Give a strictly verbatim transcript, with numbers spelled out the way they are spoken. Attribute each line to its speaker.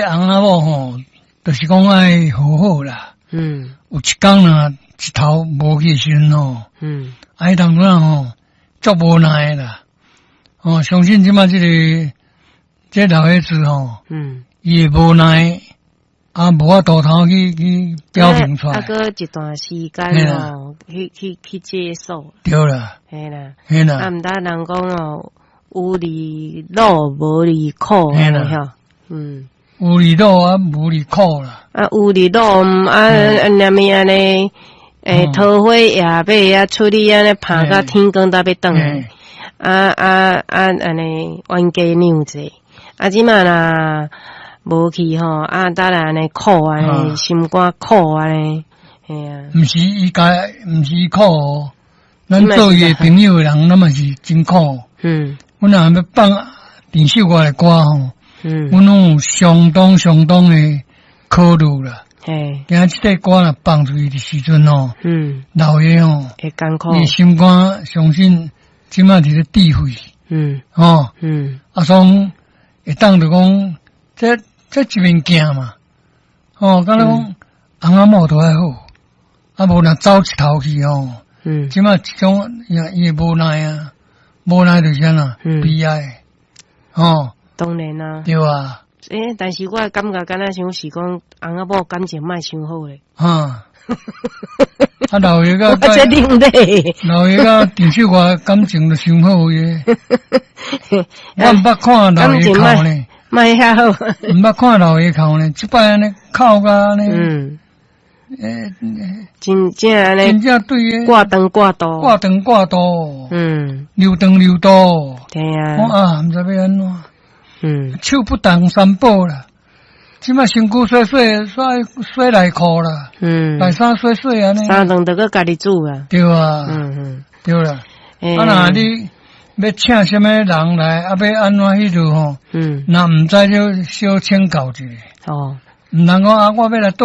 Speaker 1: 這翁仔某吼，就是講愛好好啦。
Speaker 2: 嗯。
Speaker 1: 有一工若一頭無去的時陣吼，
Speaker 2: 嗯。
Speaker 1: 啊，彼當陣吼，足無奈的啦。哦，相信這馬這个這老伙子吼，
Speaker 2: 嗯，
Speaker 1: 伊會無奈，啊，無法度通去去表明出來。
Speaker 2: 啊，閣一段時間哦，去去去接受。
Speaker 1: 對啦。
Speaker 2: 嘿啦。
Speaker 1: 嘿啦。
Speaker 2: 啊，毋但人講哦，有離樂無離苦，
Speaker 1: 嘿啦。
Speaker 2: 嗯。
Speaker 1: 有離樂啊，無離苦啦。
Speaker 2: 啊，有離樂啊，啊，連物按呢，欸，桃花夜馬啊，出去按呢，拍甲天光才欲轉來。啊啊啊！按呢冤家兩濟，啊，這馬若無去吼，啊，當然按呢苦按呢，心肝苦按呢，嘿啊。
Speaker 1: 毋是伊家，毋是伊苦哦，咱做伊的朋友的人，咱嘛是真苦。
Speaker 2: 嗯。
Speaker 1: 阮若欲放鄭秀我的歌吼，
Speaker 2: 嗯，
Speaker 1: 阮攏有相當相當的考慮啦。
Speaker 2: 嘿。
Speaker 1: 驚這塊歌若放出去的時陣吼，
Speaker 2: 嗯，
Speaker 1: 老爺吼，
Speaker 2: 會艱苦。
Speaker 1: 伊心肝相信。這馬佇咧智慧，
Speaker 2: 嗯，
Speaker 1: 吼，
Speaker 2: 嗯，
Speaker 1: 啊，所會當就講，這這一面鏡嘛，吼，敢若講翁仔某都愛好，啊，無若走一頭去吼，
Speaker 2: 嗯，
Speaker 1: 這馬這種伊伊會無奈啊，無奈就是按怎，悲哀，吼，
Speaker 2: 當然啊，
Speaker 1: 對啊，
Speaker 2: 欸，但是我感覺敢若像是講翁仔某感情莫傷好咧，
Speaker 1: 哈。啊，老爺佮
Speaker 2: 我這另類，
Speaker 1: 老爺佮鄭秀華感情都傷好的，我毋捌看老爺哭呢，
Speaker 2: 莫遐好，
Speaker 1: 毋捌看老爺哭呢，這擺按呢哭甲按呢，
Speaker 2: 嗯，
Speaker 1: 欸，
Speaker 2: 真正按呢，
Speaker 1: 真正對的，
Speaker 2: 掛長掛肚，
Speaker 1: 掛長掛肚，
Speaker 2: 嗯，
Speaker 1: 留長留肚，
Speaker 2: 對啊，
Speaker 1: 我啊，毋知欲按怎，
Speaker 2: 嗯，
Speaker 1: 手不當三寶啦。這馬身軀洗洗洗洗內褲啦，
Speaker 2: 嗯，
Speaker 1: 內衫洗洗按呢，
Speaker 2: 三頓就閣家己煮啊，
Speaker 1: 對啊，
Speaker 2: 嗯嗯，
Speaker 1: 對啦。啊，若你欲請啥物人來，啊，欲按怎彼落吼，
Speaker 2: 嗯，
Speaker 1: 若毋知就小請教一下。
Speaker 2: 哦，
Speaker 1: 毋通講啊，我欲來蹛